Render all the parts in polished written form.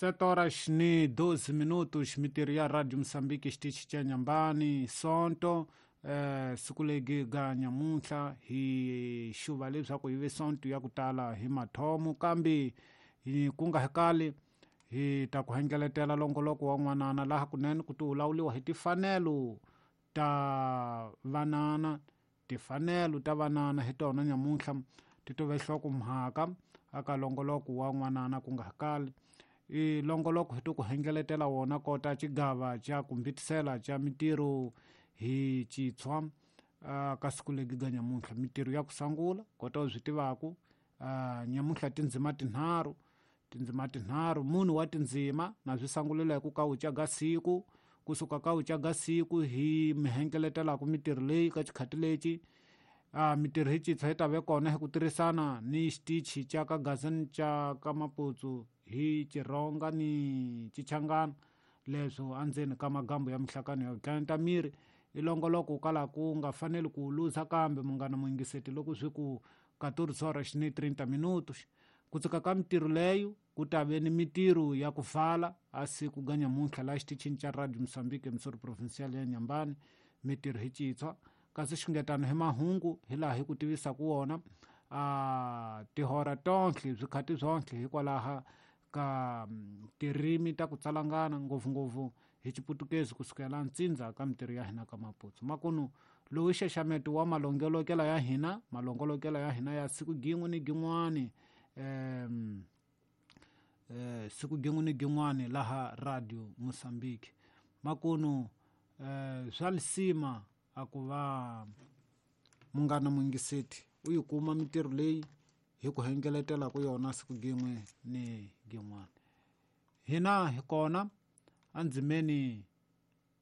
7 horas ni 12 minutos, mitirho ya Radio Mozambique xitichi xa Nyambani Sonto. Siku legi ga nyamuntlha hi xuva leswaku yi ve sonto ya ku tala hi mathomo, kambe hi ku nga hekali hi ta ku hengeletela longoloko wa n'wanana laha kunene ku ti wulawuliwa hi tifanelo ta vanana. Tifanelo ta vanana hi tona nyamuntlha ti tove nhlokomhaka aka longoloko wa n'wanana ku nga hakali. I longoloko hi to ku hengeletela wona kota xigava xa ku mbitisela xa mitirho hi xitshwa ka siku legi ga nyamuntlha. Mitirho ya ku sungula kota u swi tivaku, nyamuntlha tindzima tinharhu, tindzima tinharhu, munhu wa tindzima na swi sangulela hi ku ka u caga siku, kusuka ka u caga siku hi mi hengeletelaku mitirho leyi ka xikhati lexi. Mitirho hi xitshwa yi ta ve kona hi ku tirhisana ni xitichi xa ka Gazini xa ka Maputsu hi Xironga ni Xichangana, leswo endzeni ka magambo ya mihlakano ya ku miri. I longoloko kala ku nga faneli ku luza, kambe munghana muyingiseti loko swi ku 14 horas ni 30 minutos ku tsika ka mitirho leyo ku ta ve ni mitirho ya ku vala a siku ga nyamuntlha laha xitichini xa Radio Mozambique emisori provincial ya Nyambani, mitirho hi xitshwa. Kasi xingetano hi mahungu hi laha hi ku tivisaka wona tihora tonhle swikhati swonhle hikwalaha ka tirimi ta ku tsalangana ngopfungopfu hi Xiputukezi kusukela ntsindza ka mitirho ya hina ka Maputsu. Makunu lowu i xaxameto wa malongolokelo ya hina, malongolokelo ya hina ya siku gin'we ni gin'wani, siku gin'we ni gin'wani laha Radio Mozambique. Makunu swa lisima a ku va munghana muyingiseti u yi kuma mitirho leyi hi ku hengeletelaku yona siku gin'we ni gin'wana. Hina hi kona endzimeni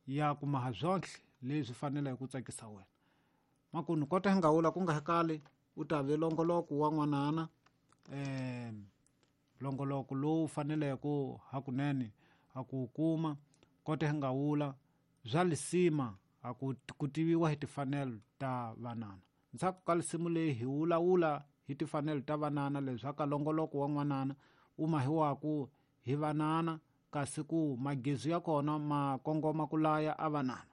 ya ku maha swonhle leswi faneleke ku tsakisa wena. Makunu kota hi nga wula ku nga hakali u ta ve longoloko wa n'wanana, longoloko lowu faneleke hakunene a ku kuma. Kota hi nga wula bya lisima a ku tiviwa hi tifanelo ta vanana. Ndzhaku ka lisimu leyi hi wulawula hi tifanelo ta vanana, leswaku longoloko wa n'wanana u mahiwaku hi vanana, kasi ku magezi ya kona ma kongoma ku laya a vanana.